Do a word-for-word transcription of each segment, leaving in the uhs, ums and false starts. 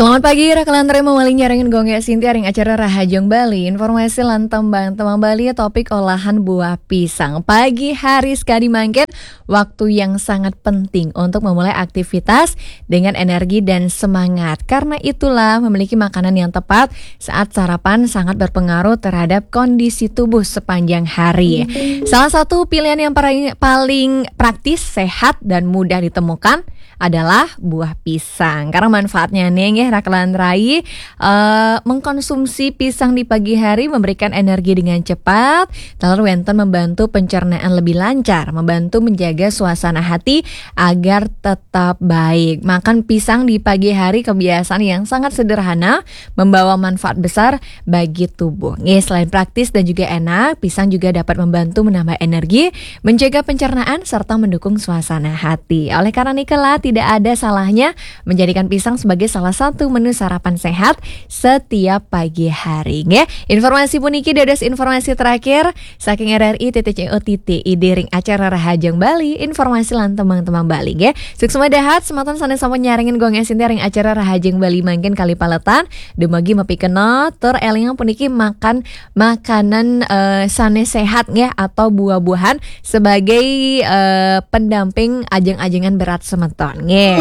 Selamat pagi, Raka lan Remo, malih nyarengin Gung Gé Sinti ring acara Rahajeng Bali. Informasi lan tembang-tembang Bali, topik olahan buah pisang. Pagi hari sekadi mangkin, waktu yang sangat penting untuk memulai aktivitas dengan energi dan semangat. Karena itulah, memiliki makanan yang tepat saat sarapan sangat berpengaruh terhadap kondisi tubuh sepanjang hari. Salah satu pilihan yang paling, paling praktis, sehat, dan mudah ditemukan adalah buah pisang. Karena manfaatnya nih, nggih, Raka lan Rai, eh, mengkonsumsi pisang di pagi hari memberikan energi dengan cepat, taler wénten membantu pencernaan lebih lancar, membantu menjaga suasana hati agar tetap baik. Makan pisang di pagi hari kebiasaan yang sangat sederhana, membawa manfaat besar bagi tubuh. Nggih, selain praktis dan juga enak, pisang juga dapat membantu menambah energi, menjaga pencernaan, serta mendukung suasana hati. Oleh karena niki, tidak ada salahnya menjadikan pisang sebagai salah satu menu sarapan sehat setiap pagi hari. Nggih, informasi puniki dados informasi terakhir saking R R I titik C O titik I D ring acara Rahajeng Bali, informasi lan tembang-tembang Bali. Nggih, suksma dahat semeton sané sampun nyarengin Gung Gé Sinti ring acara Rahajeng Bali mangkin kalih paletan. Dumugi mapikenoh, tur élingang puniki makan makanan, eh, sané sehat, nggih, atau buah-buahan sebagai, eh, pendamping ajeng-ajengan berat semeton, nggih.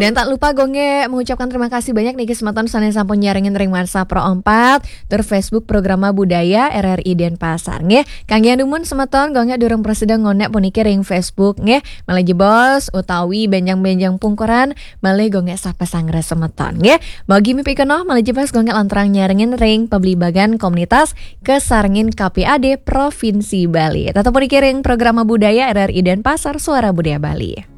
Dan tak lupa Gung Gé mengucapkan terima kasih banyak niki semeton sané sampun nyarengin ring WhatsApp Pro empat, tur Facebook Programa Budaya R R I Denpasar, nggih. Kanggé anumun semeton, Gung Gé durung prasida ngonék puniki ring Facebook, nggih. Malih jebos utawi bénjang-bénjang pungkuran, malih Gung Gé sapa sanggra semeton, nggih. Mugi mapikenoh, malih jebos Gung Gé lanturang nyarengin ring pablibagan komunitas kasarengin K P A D Provinsi Bali. Tetep puniki ring Programa Budaya R R I Denpasar, Suara Budaya Bali.